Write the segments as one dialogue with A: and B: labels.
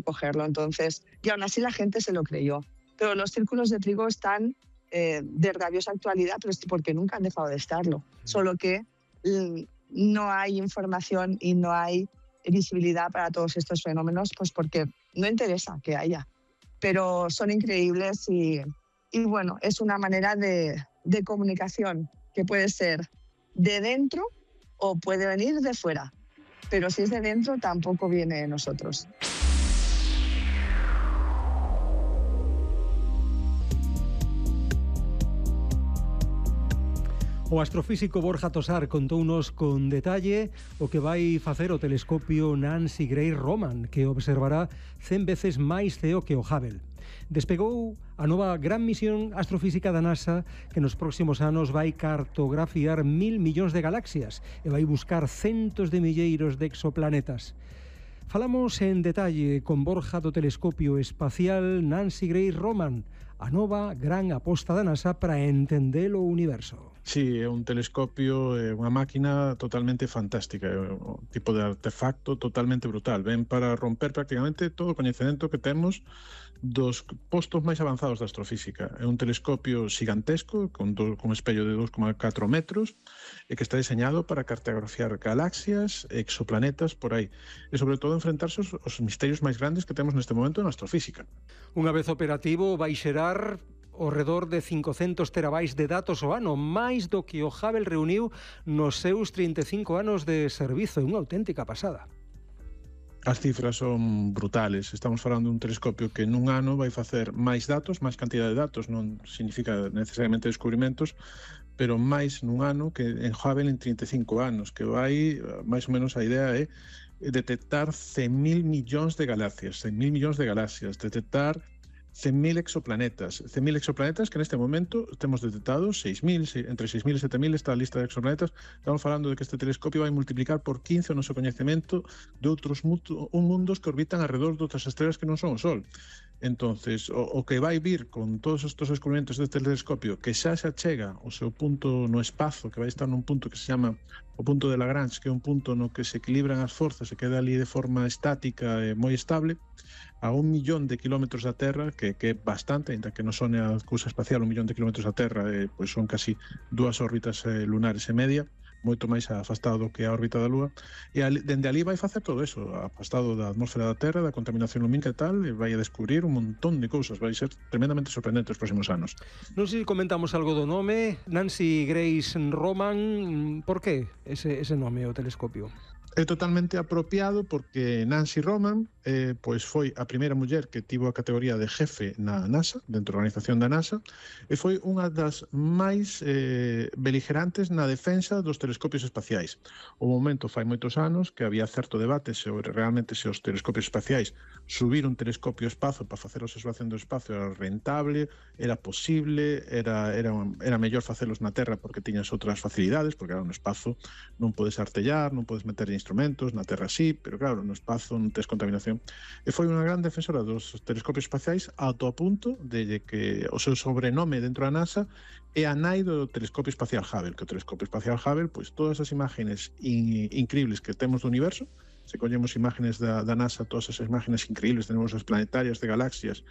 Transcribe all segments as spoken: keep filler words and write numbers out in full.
A: cogerlo. Entonces, y aún así la gente se lo creyó. Pero los círculos de trigo están eh, de rabiosa actualidad, pero es porque nunca han dejado de estarlo. Solo que mm, no hay información y no hay visibilidad para todos estos fenómenos, pues porque no interesa que haya. Pero son increíbles y, y bueno, es una manera de, de comunicación que puede ser de dentro o puede venir de fuera. Pero si es de dentro, tampoco viene de nosotros.
B: O astrofísico Borja Tosar contounos con detalle o que vai facer o telescopio Nancy Grace Roman, que observará cen veces máis C E O que o Hubble. Despegou a nova gran misión astrofísica da NASA que nos próximos anos vai cartografiar mil millóns de galaxias e vai buscar centos de milleiros de exoplanetas. Falamos en detalle con Borja do telescopio espacial Nancy Grace Roman, a nova gran aposta da NASA para entender o universo.
C: Sí, é un telescopio, é unha máquina totalmente fantástica, é un tipo de artefacto totalmente brutal. Ven para romper prácticamente todo o coñecemento que temos dos postos máis avanzados da astrofísica. É un telescopio gigantesco, con, do, con espello de dos coma catro metros, e que está diseñado para cartografiar galaxias, exoplanetas, por aí. E sobre todo enfrentarse aos, aos misterios máis grandes que temos neste momento na astrofísica.
B: Unha vez operativo, vai xerar ao redor de cincocentos terabytes de datos ao ano, máis do que o Hubble reuniu nos seus trinta e cinco anos de servizo, unha auténtica pasada.
C: As cifras son brutales. Estamos falando dun telescopio que nun ano vai facer máis datos, máis cantidad de datos, non significa necesariamente descubrimentos, pero máis nun ano que en Hubble en trinta e cinco anos, que vai, máis ou menos a idea é detectar cen mil millóns de galaxias, cen mil millóns de galaxias, detectar cen mil exoplanetas, cen mil exoplanetas que neste momento temos detectados seis mil, entre seis mil e sete mil está a lista de exoplanetas. Estamos falando de que este telescopio vai multiplicar por quince o noso coñecemento de outros mundos que orbitan alrededor de outras estrelas que non son o Sol. Entonces, o, o que vai vir con todos estes descubrimentos deste telescopio, que xa se achega o seu punto no espazo, que vai estar nun punto que se chama o punto de Lagrange, que é un punto no que se equilibran as forzas e queda ali de forma estática e moi estable, a un millón de kilómetros da Terra, que, que é bastante, ainda que non sone a cousa espacial, un millón de kilómetros da Terra, eh, pois son casi dúas órbitas eh, lunares e media, moito máis afastado do que a órbita da Lúa, e ali, dende ali vai facer todo eso, afastado da atmósfera da Terra, da contaminación lumínica e tal, e vai a descubrir un montón de cousas, vai ser tremendamente sorprendente os próximos anos.
B: Non sei se comentamos algo do nome, Nancy Grace Roman, por que ese, ese nome o telescopio?
C: É totalmente apropiado porque Nancy Roman eh, pois foi a primeira muller que tivo a categoría de jefe na NASA, dentro da organización da NASA, e foi unha das máis eh, beligerantes na defensa dos telescopios espaciais. O momento fai moitos anos que había certo debate sobre realmente se os telescopios espaciais subir un telescopio ao espazo para facer a observación do espacio era rentable, era posible, era, era, era mellor facelos na Terra porque tiñas outras facilidades, porque era no espazo non podes artellar, non podes meter instrumentos, na Terra sí, pero claro, no espazo non tes contaminación. E foi unha gran defensora dos telescopios espaciais ata o punto de que o seu sobrenome dentro da NASA é a nai do telescopio espacial Hubble, que o telescopio espacial Hubble, pois todas as imágenes in, increíbles que temos do universo, se collemos imágenes da, da NASA, todas esas imágenes increíbles, tenemos as planetarias de galaxias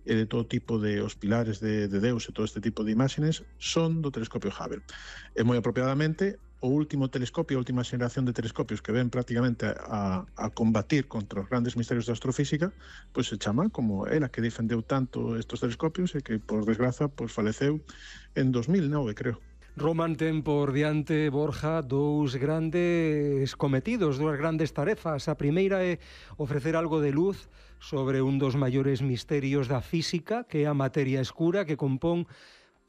C: e de todo tipo de os pilares de, de Deus e todo este tipo de imágenes, son do telescopio Hubble. E moi apropiadamente, o último telescopio, a última xeración de telescopios que ven prácticamente a, a combatir contra os grandes misterios da astrofísica, pois se chama como ela que defendeu tanto estos telescopios e que, por desgraza, pois faleceu en dos mil nove, creo.
B: Roman ten por diante, Borja, dous grandes cometidos, dúas grandes tarefas. A primeira é ofrecer algo de luz sobre un dos maiores misterios da física, que é a materia escura, que compón,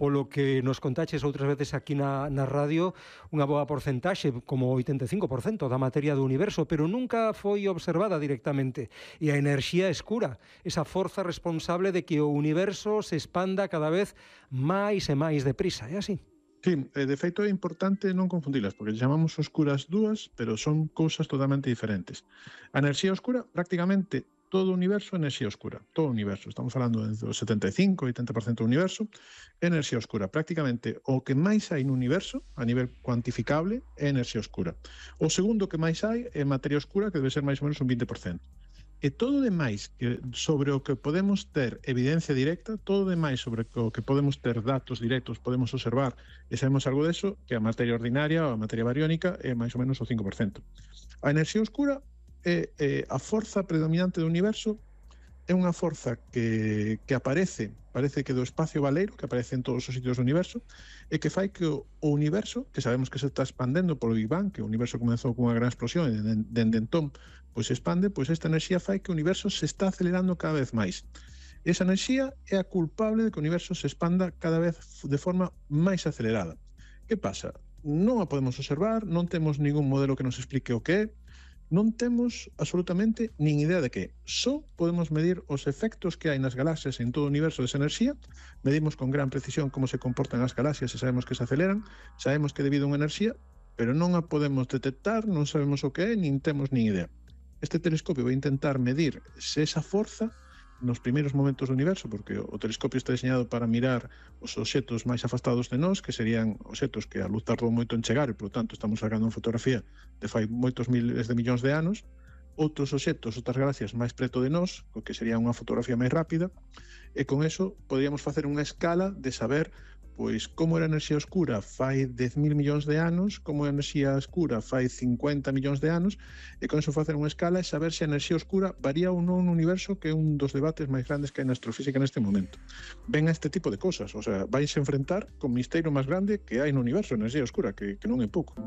B: polo que nos contaches outras veces aquí na, na radio, unha boa porcentaxe, como oitenta e cinco por cento da materia do universo, pero nunca foi observada directamente. E a enerxía escura, esa forza responsable de que o universo se expanda cada vez máis e máis deprisa, é así?
C: Sí, de feito é importante non confundilas, porque chamamos oscuras dúas, pero son cousas totalmente diferentes. A enerxía oscura, prácticamente todo o universo é enerxía oscura, todo o universo. Estamos falando do setenta e cinco a oitenta por cento do universo, é enerxía oscura. Prácticamente o que máis hai no universo, a nivel cuantificable, é enerxía oscura. O segundo que máis hai é materia oscura, que debe ser máis ou menos un vinte por cento. E todo demais que sobre o que podemos ter evidencia directa, todo demais sobre o que podemos ter datos directos, podemos observar e sabemos algo deso, que a materia ordinaria ou a materia bariónica é máis ou menos o cinco por cento. A enerxía oscura é, é a forza predominante do universo, é unha forza que, que aparece, parece que do espacio baleiro, que aparece en todos os sitios do universo, e que fai que o, o universo, que sabemos que se está expandendo polo Big Bang, que o universo comezou con unha gran explosión e dende entón pois se expande, pois esta enerxía fai que o universo se está acelerando cada vez máis. Esa enerxía é a culpable de que o universo se expanda cada vez de forma máis acelerada. Que pasa? Non a podemos observar, non temos ningún modelo que nos explique o que é, non temos absolutamente nin idea de que. Só podemos medir os efectos que hai nas galaxias en todo o universo desa enerxía, medimos con gran precisión como se comportan as galaxias e sabemos que se aceleran, sabemos que debido a unha enerxía, pero non a podemos detectar, non sabemos o que é, nin temos nin idea. Este telescopio vai intentar medir se esa forza nos primeiros momentos do universo, porque o telescopio está diseñado para mirar os obxectos máis afastados de nós, que serían obxectos que a luz tardou moito en chegar e, por lo tanto, estamos sacando unha fotografía de fai moitos miles de millóns de anos. Outros obxectos, outras galaxias máis preto de nós, o que sería unha fotografía máis rápida, e con eso podríamos facer unha escala de saber pois como era a enerxía oscura fai dez mil millóns de anos, como a enerxía oscura fai cincuenta millóns de anos, e con eso facer unha escala e saber se a enerxía oscura varía ou non no universo, que é un dos debates máis grandes que hai na astrofísica neste momento. Ven a este tipo de cosas, o sea, vais a enfrentar con o misterio máis grande que hai no universo, a enerxía oscura, que, que non é pouco.